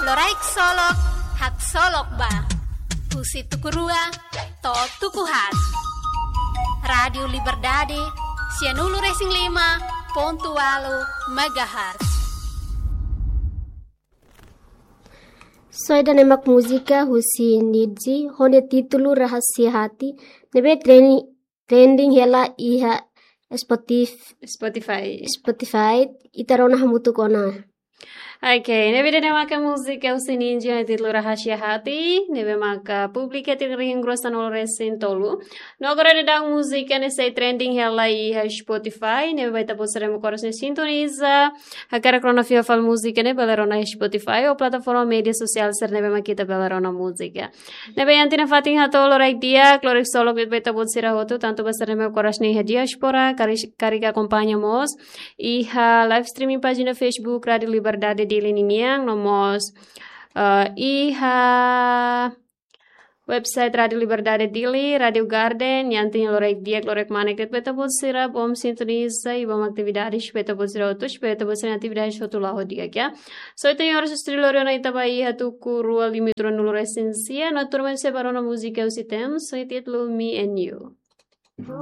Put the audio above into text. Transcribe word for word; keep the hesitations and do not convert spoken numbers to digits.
Loraik Solok, haksolok ba. Husi tuku rua to'o tuku haat. Rádiu Liberdade, sianulu-resin-lima pontu ualu megahertz. Soe ida-ne'e mak múzika husi Nidji, ho nia títulu Rahasia Hati, ne'ebé trending, trending hela iha Spotif-, Spotify. Spotify, ita rona hamutuk ona. Ok, ne'ebé ida-ne'e maka múzika husi Nidji ho nia títulu Rahasia Hati, ne'ebé maka publika iha tinan rihun rua sanulu-resin-tolu. No agora daudaun múzika ne'e sei trending hela iha Spotify, ne'ebé ba ita-boot sira ne'ebé mak oras ne'e sintoniza, hakarak rona fiar fali múzika ne'e bele rona iha Spotify ou plataforma média sosiál sira ne'ebé mak ita bele rona múzika. Ne'ebé iha tiha ona fatin hato'o loraik di'ak, loraik solok ba ita-boot sira hotu, tantu ba sira ne'ebé mak oras ne'e iha diáspora, karik, karik akompaña mós iha live streaming pájina Facebook Rádiu Liberdade Dili ninian, no mós, eh, iha website Rádiu Liberdade Dili, Rádiu Garden, iha tiha ona loraik di'ak, loraik manek de'it ba ita-boot sira, bom sintoniza i bom atividades ba ita-boot sira hotu, espera ita-boot sira-nia atividades hotu la'o di'ak, ya. Soe ita-nia oras estudioru ona ita ba iha tuku rua lima nulu-resin-sia, no tuirmai sei ba rona múzika husi Tems, ho nia títulu Me and You.